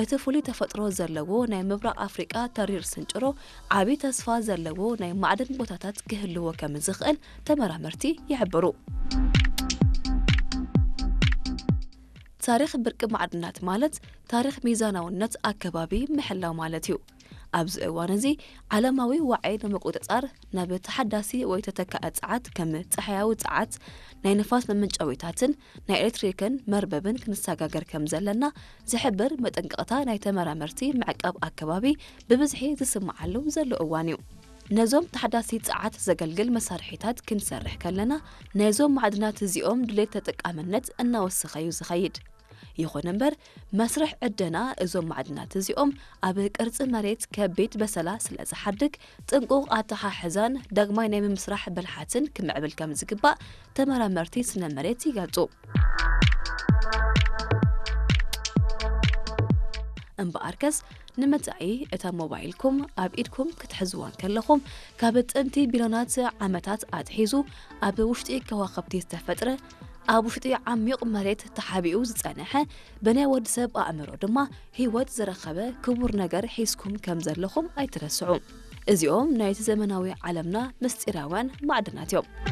እቲ ፍሉይ ተፈጥሮ ዘለዎ ናይ ምብራቕ ኣፍሪቃ ተሪር ስንጭሮ ዓቢ ተስፋ ዘለዎ ናይ ማዕድን ቦታታት ክህልዎ ከም ዝኽእል ተመራመርቲ ይሕብሩ። ታሪኽ ብርቂ ማዕድናት ማለት ታሪኽ ሚዛናውነት ኣከባቢ ምሕላው ማለት እዩ። ኣብዚ እዋን እዚ ዓለማዊ ዋዒ ንምቁጽጻር ናብ ተሓዳሲ ወይ ተተካኢ ጸዓት ከም ጸሓያዊ ጸዓት፣ ናይ ንፋስ መመንጨዊታትን ናይ ኤሌክትሪክን መርበብን ክንሰጋገር ከም ዘለና ዝሕብር መጠንቀቕታ ናይ ተመራመርቲ ምዕቃብ ኣከባቢ ብብዝሒ ዝስምዓሉ ዘሎ እዋን እዩ። ነዞም ተሓዳሲ ጸዓት ዘገልግል መሳርሒታት ክንሰርሕ ከለና ናይዞም ማዕድናት እዚኦም ድሌት ተጠቃምነት እናወሰኸ እዩ ዝኸይድ። ይኹን እምበር መስርሕ ዕደና እዞም ማዕድናት እዚኦም ኣብ ቅርጺ መሬት ከቢድ በሰላ ስለ ዝሓድግ ጥንቁቕ ኣተሓሕዛን ዳግማይ ናይ ምምስራሕ ብልሓትን ክምዕብል ከም ዝግባእ ተመራመርቲ ስነ መሬት ይገልጹ። እምበኣርከስ ንምንታይ እታ ሞባይልኩም ኣብ ኢድኩም ክትሕዝዋ እንከለኹም ካብ ጥንቲ ቢልዮናት ዓመታት ኣትሒዙ ኣብ ውሽጢ ከዋኽብቲ ዝተፈጥረ ኣብ ውሽጢ ዓሚቕ መሬት ተሓቢኡ ዝጸንሐ ብናይ ወዲ ሰብ ኣእምሮ ድማ ህይወት ዝረኸበ ክቡር ነገር ሒዝኩም ከም ዘለኹም ኣይትረስዑ። እዚኦም ናይቲ ዘመናዊ ዓለምና ምስጢራውያን ማዕድናት እዮም።